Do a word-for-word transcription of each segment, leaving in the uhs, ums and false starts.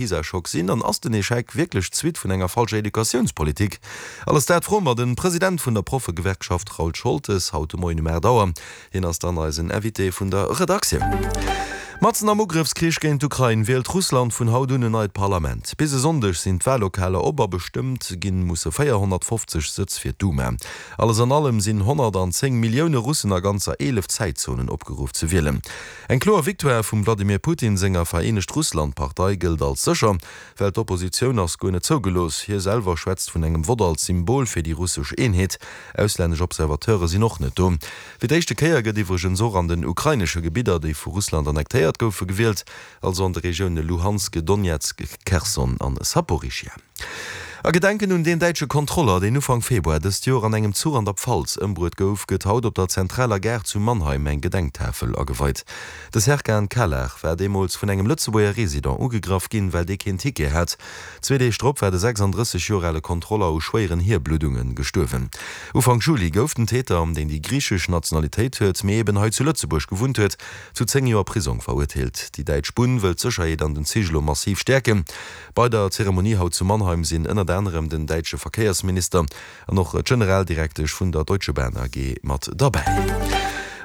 PISA-Schock sinn? An ass den Echec wierklech d'Suite vun enger falscher Educatiounspolitik? Alles dat froe mer de President vun der Proffegewerkschaft Raoul Scholtes haut de Moien um aacht Auer. Hien ass dann eisen Invité vun der Redaktioun. Matzen am Ugrëffskrich géint d'Ukrain wielt Russland vun haut un en neit Parlament. Bis e Sonndeg sinn d'Wallokaler op a bestëmmt ginn musse véierhonnertfofzeg Sëtz fir d'Duma. Alles an allem sinn honnertanzéng Millioune Russen a ganzer eelef Zäitzonen opgeruff ze wielen. Eng kloer Victoire vum Wladimir Putin senger Vereenegt Russland-Partei gëllt als sécher, well d'Oppositioun ass guer net zougelooss. Hie selwer schwätzt vun engem Vott als Symbol fir déi russesch Eenheet. Auslännesch Observateure sinn och net do. Fir d'éischte Kéier gëtt iwwregens och an den ukrainesche Gebidder, déi vu Russland annektéiert goufe, gewielt, also an de Regioune Luhansk, Donezk, Kherson an Saporischschja. A Gedenken un deen däitsche Kontroller, deen Ufank Februar dëst Joer an engem Zuch an der Pfalz ëmbruet gouf, gëtt haut op der zentraler Gare zu Mannheim eng Gedenktafel ageweit. De Serkan Calar war deemools vun engem Lëtzebuerger Resident ugegraff ginn, well dee keen Ticket hat. Zwee Deeg drop war de sechsanddrësseg Joer ale Kontroller u schwéieren Hierbluddunge gestuerwen. Ufank Juli gouf den Täter, deen déi griichesch Nationalitéit huet, mee eben hei zu Lëtzebuerg gewunnt huet, zu zéng Joer Prisong verurteelt. Déi däitsch Bunn wëll d'Sécherheet an den Zich elo massiv stäerken. Bei der Zeremonie haut zu Mannheim sinn ënnert anerem den däitsche Verkéiersminister an och d'Generaldirektesch vun der Deutsche Bahn A G mat derbäi.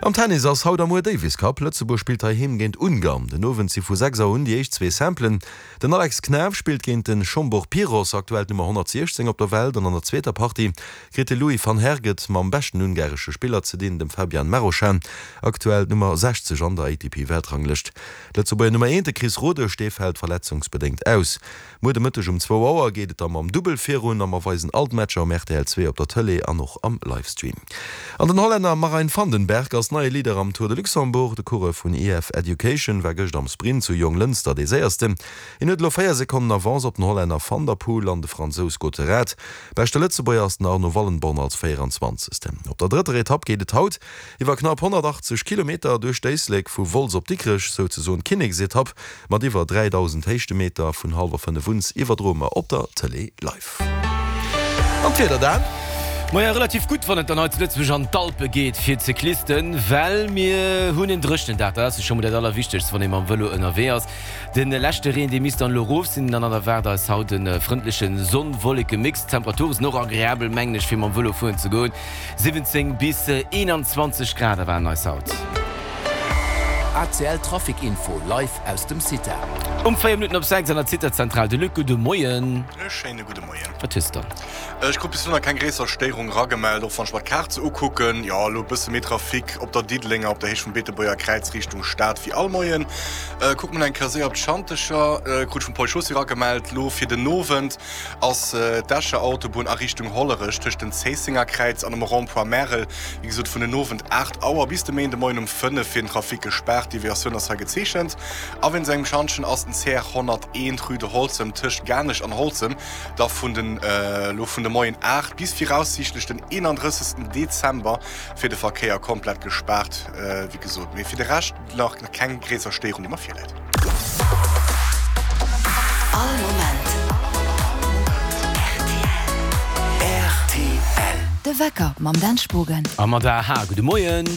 Am Tennis ass haut a muer Davis Cup. Lëtzebuerg spillt heiheem géint Ungarn. Den Owend si vu sechs Auer un déi éischt zwee Simplen. Den Alex Knaff spillt géint de Zsombor Piros, aktuell d'Nummer honnertsiechzéng op der Welt, an an der zweeter Partie kritt de Louis van Herget mam beschten ungaresche Spiller ze dinn, dem Fabian Marozsan, aktuell d'Nummer sechzeg an der A T P-Weltranglëscht. D'Lëtzebuerger Nummer eent, de Chris Rodesch, dee fält verletzungsbedéngt aus. Muer de Mëtteg um zwou Auer geet et da mam Dubbel virun a mer weisen all d'Matcher um R T L zwee op der Tëlee an och am Livestream. An den Hollänner Marijn Vandenberg ass neie Leader am Tour de Luxembourg. De Coureur vun E F Education war gëscht am Sprint zu Jonglënster dee Séiersten. Hien huet elo véier Sekonnen Avance op den Hollänner Van der Poel an de Fransous Gotterat. Beschte Lëtzebuerger ass den Arno Wallenborn als véieranzwanzegsten. Op der drëtter Etapp geet et haut iwwer knapp honnertachtzeg Kilometer duerch d'Éislek vu Wolz op Dikrech, souzesoen d'Kinneksetapp mat iwwer dräidausend Héichtemeter. Vun hallwer fënnef un iwwerdroe mer op der Tëlee live. An d'Wieder dann? Maja, relativ gutt, wann et dann hei zu Lëtzebuerg an d'Alpe geet fir d'Cyclisten, well mir hunn en dréchenen Dag. Dat ass jo scho mol dat Allerwichtegst, wann ee mam Vëlo ënnerwee ass. De leschte Reen, dee misst dann elo erof sinn, dann erwaart eis haut e frëndleche Sonn-Wolleke-Mix. D'Temperature sinn och agreabel, mengen ech, fir mam Vëlo fueren ze goen. siwwenzéng bis eenanzwanzeg Grad erwaarden eis haut. A C L Trafic Info live aus dem CITA. Um véier Minutten op sechs an der CITA-Zentral de Luc, gudde Moien. E schéine gudde Moien. Wat hues de dann? Ech krut bis elo nach keng gréisser Stéierung ragemellt, och wann ech mer d'Kaart sou ukucken. Jo, elo e bësse méi Trafic op der Diddelenger op der Héicht vum Beetebuerger Kräiz Richtung Stad wéi all Moien. Kucke mer nach eng Kéier séier op d'Schantecher. Krut ech vum Paul Chaussy ragemellt, elo fir den Owend ass d'Escher Autobunn a Richtung Hollerech tëscht dem Zéissenger Kräiz an dem Rond-point Märel, wéi gesot vun den Owend aacht Auer bis de Méindemoien um fënnef fir den Trafic gespaart. Deviatioun ass hei gezeechent. A wéinst engem Schantjen ass den C R honnerteent Rue de Holzem tëscht Garnech an Holzem da vun den elo vun de Moien aacht bis viraussiichtlech den eenandrëssegsten Dezember fir de Verkéier komplett gespaart, wéi gesot. Mee fir de Rescht nach keng gréisser Stéierung, déi mer virläit. All Moment R T L. De Wecker mam Dan Spogen. A mat A H. Gudde Moien.